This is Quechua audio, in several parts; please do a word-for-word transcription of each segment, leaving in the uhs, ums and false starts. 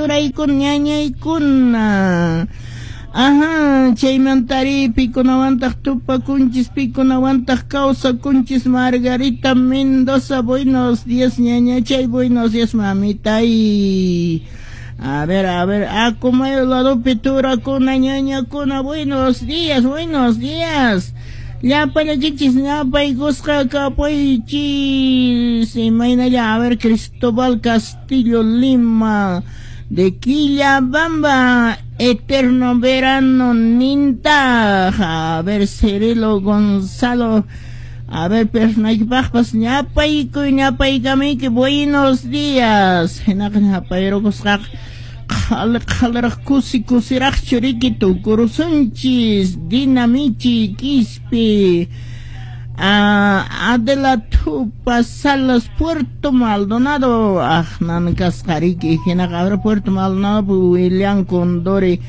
turaykuna ñañaykuna. Ajá, chaymantari pikunawantaq tupakunchis, pikunawantaq kawsakunchis. Margarita Mendoza, buenos días ñañachay, buenos días mamitay. A ver, a ver, Acomayo ladopi turakuna ñañakuna, buenos días, buenos días. Llapallaykichis ñapaykusqa kapuychis. Imaynalla, a ver, Cristóbal Castillo Lima de Quillabamba, eterno verano ninta. A ver, Cirilo Gonzalo, a ver, pernaykipaqpas ñapaykuy ñapaykamiyki, buenos días. Hinaqa ñapayrukusqaqa qhali qhaliraq kusi kusiraqchu riki tukurusunchis. Dinamichi Quispe, ah, Adela Tupa Salas, Puerto Maldonado, aqnan kasqa riki. Hinaqa a ver, Puerto Maldonado, William Condori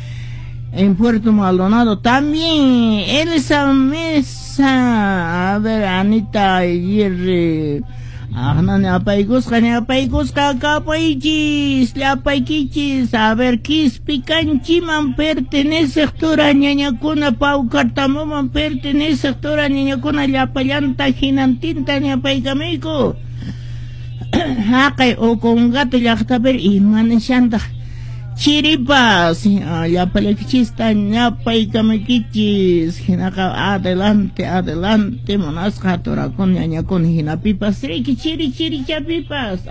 en Puerto Maldonado también, Elsa Mesa, a ver, Anita Aguirre, aqnan ñapaykusqa ñapaykusqa kapaychis llapaykichis. A ver, Quispicanchiman perteneceq tura ñañakuna, Paucartamuman perteneceq tura ñañakuna, llapallanta hinantinta ñapaykamiyku. Haqay Ocongate llaqtapiri imanishantaq chiripas, llapallaykichista ñapaykamaykichis. Hinaqa adelante, adelante munasqa turakuna ñañakuna, hinapipas riki chiri chirichapipas.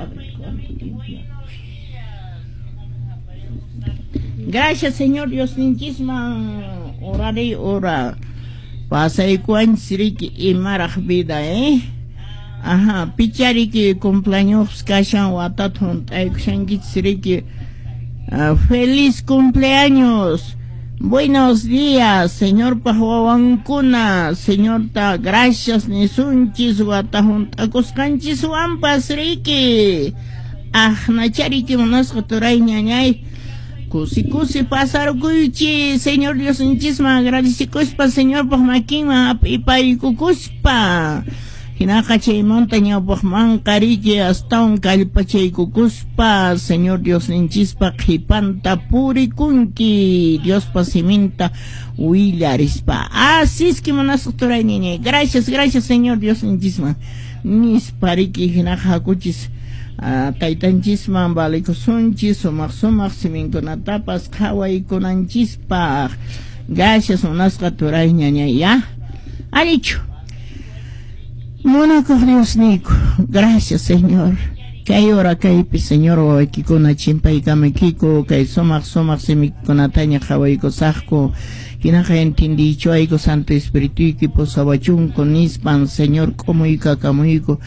Gracias Señor Dios ninchisman oraré ora pasaykuanchis riki imaraq vida, eh. Ajá, pichariki cumpleaños kashan watata hunt'aykushankichis riki. Uh, feliz cumpleaños. Buenos días, Señor wawankuna. Señorta, gracias nisunchis wata hunt'akusqanchis wampas riki. Aqnachariki munasqa turay ñañay. Kusi kusi pasarkuychis, Señor Dios ninchisman agradecikuspa, Señorpaq makinman ap'ipaykukuspa. Hinaqa chaymanta ñawpaqmanqa riki astawan kallpachaykukuspa, Señor Dios ninchispa qhipanta purikunki, Diospa siminta willarispa. Así es que munasqa turay ñañay. Gracias, gracias Señor Dios ninchisman nispa riki. Hinaqa hakuchis taytanchisman valikusunchis sumaq sumaq siminkunatapas qhawaykunanchispaq. Gracias munasqa turay ñañay, ya. Alichu. Munakuq Diosniyku, gracias Señor. Kay hora kaypi Señor wawaykikuna chimpaykamaykiku, kay sumaq sumaq simikunataña qhawaykusaqku. Hinaqa entendiychuayku Santo Espirituyki pusawachunku nispan Señor k'umuykakamuyku.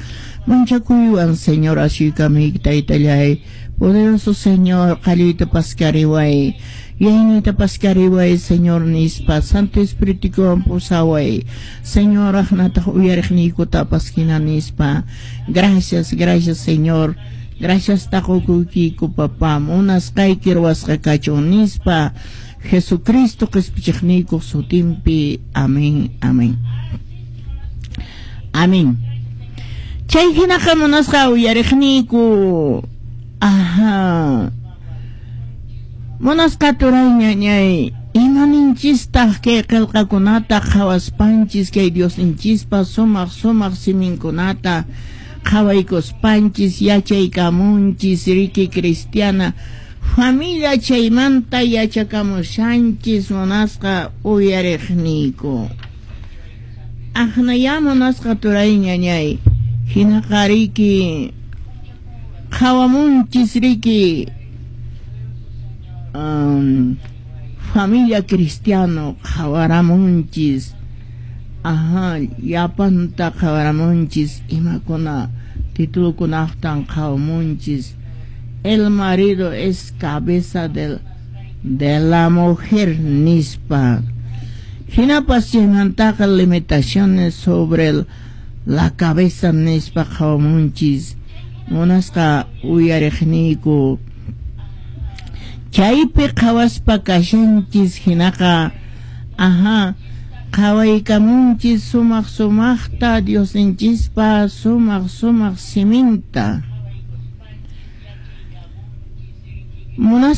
Manchakuywan Señor asuykamuyki taytallay. Poderoso Señor, qalluyta paskariway. Yaynita paskariway Señor nispa Santo Espirituwan pusaway. Señor aqnataq uyariqniykutapas hina nispa. Gracias, gracias Señor. Gracias taqukuykiku papá. Munasqayki ruwasqa kachun nispa. Jesucristo qispichiqniykuq sutinpi. Amén, amén. Amén. Chay hinaqa munasqa uyariqniyku. Ajá. Munasqa turay ñañay, imaninchistaq kay qillqakunata qhawaspanchis, kay Diosninchispa sumaq sumaq siminkunata qhawaykuspanchis, yachaykamunchis riki cristiana familia chaymanta yachakamushanchis munasqa uyariqniyku. Aqnaya munasqa turay ñañay, hinaqa riki qhawamunchis riki Um, familia cristiano qhawaramunchis. Ajá, llapanta qhawaramunchis, imakuna titulukunaqtan qhawamunchis. El marido es cabeza del, de la mujer nispa. Hinapas chaymantaqa limitaciones sobre el, la cabeza nispa qhawamunchis. Munasqa uyariqniyku. Chaypi qhawaspa kashanchis hinaqa, ajá, qhawaykamunchis sumaq sumaqta Diosninchispa sumaq sumaq siminta. Munasqa